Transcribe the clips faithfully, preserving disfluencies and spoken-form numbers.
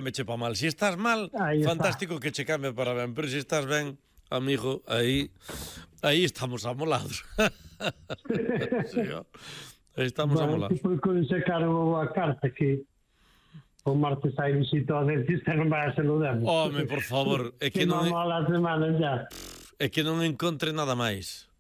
me che pa mal. Si estás mal, Ahí está. fantástico que che cambie para ben, pero si estás ben, amigo, aí aí estamos amolados. Sí, ó. Aí estamos Bueno, amolados. tipo, quando sacaron a carta que o martes hai visita ao dentista, non vai a se lo demos. Home, por favor, é que Que non non mola a semana ya. é que non encontre nada máis.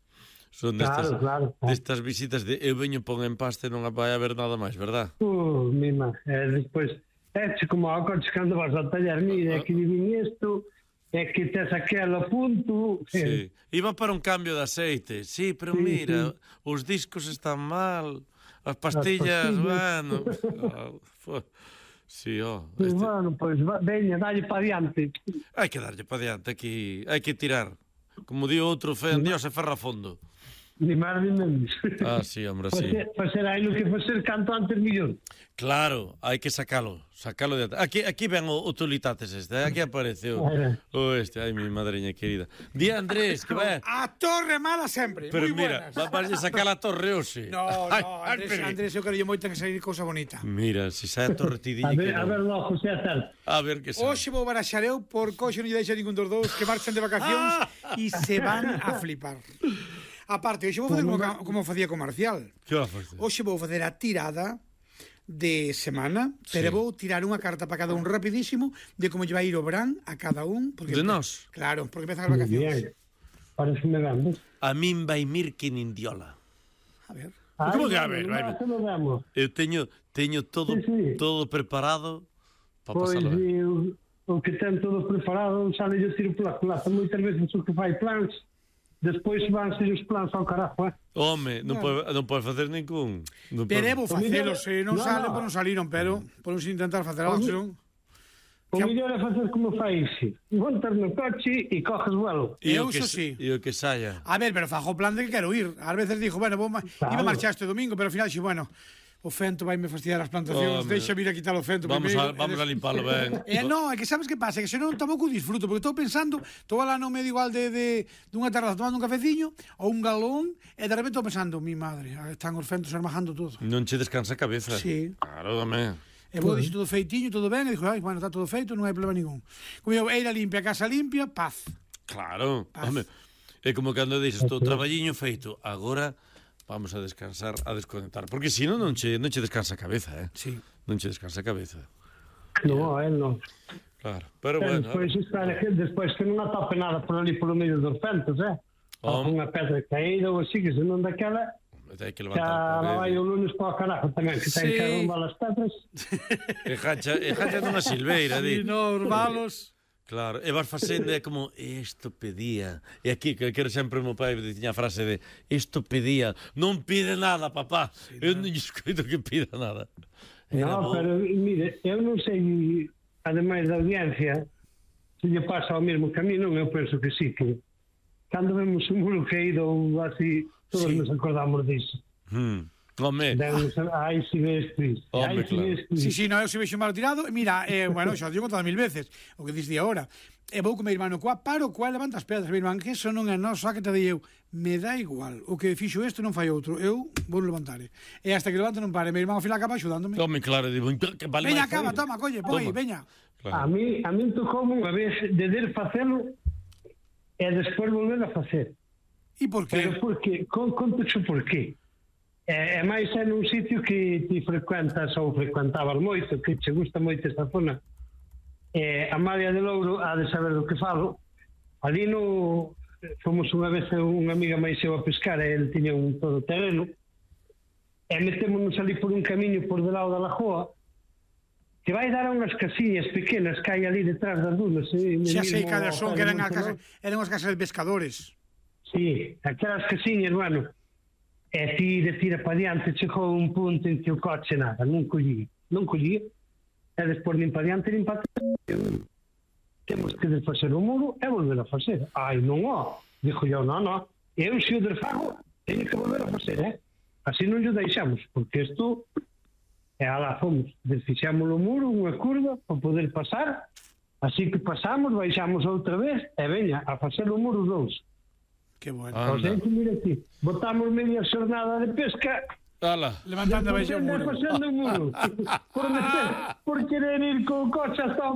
Son destas, Claro, claro, claro. destas visitas de eu veño pon en paste e non vai haber nada máis, verdad? Uh, mima, e despois, é como a coche cando vas ao taller, mira, é que divin isto, é que tes aquelo punto. Sí. Iba para un cambio de aceite. Sí, pero Sí, mira, sí. os discos están mal, as pastillas, As pastillas. bueno. Ah, fo- sí, ó. Pues Este... bueno, pois, pues, veña, dalle para diante. Hai que darlle para diante aquí, hai que tirar. Como di outro, fe en Dios e ferra fondo. Ni máis ni menos. Ah, sí, hombre, sí. Facer, facer aí no que facer canto antes millón. Claro, hai que sacalo, sacalo de ate. Aquí, aquí ven o, o Tulitates este, aquí apareceu o este, ai mi madreña querida. Di Andrés, que vai. A torre mala sempre, Pero moi mira, buenas. va para sacar a torre hoxe. No, Ai, no, ai, Andrés, pero- Andrés, eu quero moito que sair cousa bonita. Mira, se sai a torre ti A dille que ver, a ver, non. logo, José Acerto. A ver que sai. Hoxe vou baraxar eu por coxo non lle deixa ningún dos dous que marchan de vacacións e se van a flipar. Aparte, hoxe vou fazer como, ca- como facía co Marcial. Que va a facer? Hoxe vou facer a tirada de semana, pero Sí. vou tirar unha carta para cada un rapidísimo de como lle vai ir o verán a cada un. Porque De nós? Claro, porque empezan as Muy vacacións. bien. Parece me vamos. A min vai mir que nindiola. A ver. Como que a ver, vai? Se lo damos. Eu teño teño todo Sí, sí. todo preparado para Pois, pasarlo. ben. e o, o que ten todo preparado, sale yo tiro pola culata. Moitas veces o que fai plans, despois van ser os plans ao carajo, eh? Home, non pode non pode facer ningún. Non Pero pode- é vou facelo, se non No, salen, no. pois non saliron, pero podemos intentar facer algo, senón... O mellor é facer como fai ese. Montas no coche e coges vuelo. E Eu o que iso sa- sí. E o que saia. A ver, pero fajo o plan de que quero ir. Ás veces dixo, bueno, vou ma... Claro. iba a marchar este domingo, pero ao final dixo, bueno, o fento vai me fastidiar as plantacións, Home. deixa vir a quitar o fento Vamos primeiro, a vamos e a des- limpalo ben. Eh, no, é que sabes que pasa, que se non tampouco disfruto, porque estou pensando, estou lá no medio igual de, de dunha terraza tomando un cafeciño ou un galón, e de repente estou pensando, mi madre, están os fentos armajando todo. Non che descansa a cabeza. Sí. Claro, dame. E vou dixo todo feitinho, todo ben, e dixo, ai, bueno, está todo feito, non hai problema ningún. Como eu, eira limpia, casa limpia, paz. Claro. Paz. Home, é como cando dixes todo traballiño feito, agora vamos a descansar, a desconectar, porque si non non che non che descansa a cabeza, eh. Sí. Non che descansa a cabeza. No, él non. Claro. Pero Pero bueno, despois, espera, que despois que non atope nada por ali polo medio dos fentos, eh? Ou Home. unha pedra caída ou así, que se non daquela, hai que xa levantar la vai o o lunes para o carajo tamén, que ten Sí. que arrumbar as pedras. E jacha, e jacha dunha silveira, di. E nos valos... Claro, e vas facendo é como isto pedía. E aquí que quero sempre o meu pai tiña a frase de isto pedía, non pide nada, papá. Sí, eu non lle escoito que pida nada. Era No, bo. pero mire, eu non sei, ademais da audiencia, se lle pasa ao mesmo camino, eu penso que sí, que cando vemos un muro caído ou así, todos Sí. nos acordamos disso. Hmm. Home, Demos, ai, si ves triste, Home, ai, si claro. ves triste. Sí, sí, no, eu se vexo malo tirado, e mira, eh, bueno, xa o digo todas mil veces, o que diste agora. E vou con meu irmão coa paro, coa levanta as pedras, meu irmán, que eso non é noso, que te dei eu. Me dá igual, o que fixo este non fai outro, eu vou levantar. E hasta que levanto non pare, meu irmán ao final acaba axudándome. home, claro, digo, que vale Veña, máis acaba, fazer. toma, colle, poi, Toma. veña. A Claro. mí, a mí tocou unha vez de der facelo e despois volver a facer. E por que? Pero por que? Con, conto xo por qué. É, é máis é nun sitio que ti frecuentas ou frecuentabas moito, que che gusta moito esta zona. É, a Maria de Louro ha de saber do que falo. Ali no fomos unha vez unha amiga máis eu a pescar e ele tiña un todo terreno e metémonos ali por un camiño por de lado da lagoa que vai dar a unhas casiñas pequenas que hai ali detrás das dunas. eh, Xa sei mesmo cada ao son, pé que de eran, a Monte casa, eran as casas de pescadores. Sí, aquelas casiñas, bueno, e ti de tira para diante chegou un punto en que o coche nada, non collía, non collía, e despois nin para diante nin para atrás. Temos que desfacer o muro e volver a facer. Ai, non ó, dixo eu, non, non, eu se o desfago, teño que volver a facer, eh? Así non o deixamos, porque isto, e alá fomos, desfixamos o muro, unha curva, para poder pasar, así que pasamos, baixamos outra vez, e veña, a facer o muro dous. Que bueno. Ah. O sea, que mira aquí, botamos media xornada de pesca Ala. Levantando a despois baixa o anda muro. facendo o muro por, meter, por querer ir co coche hasta o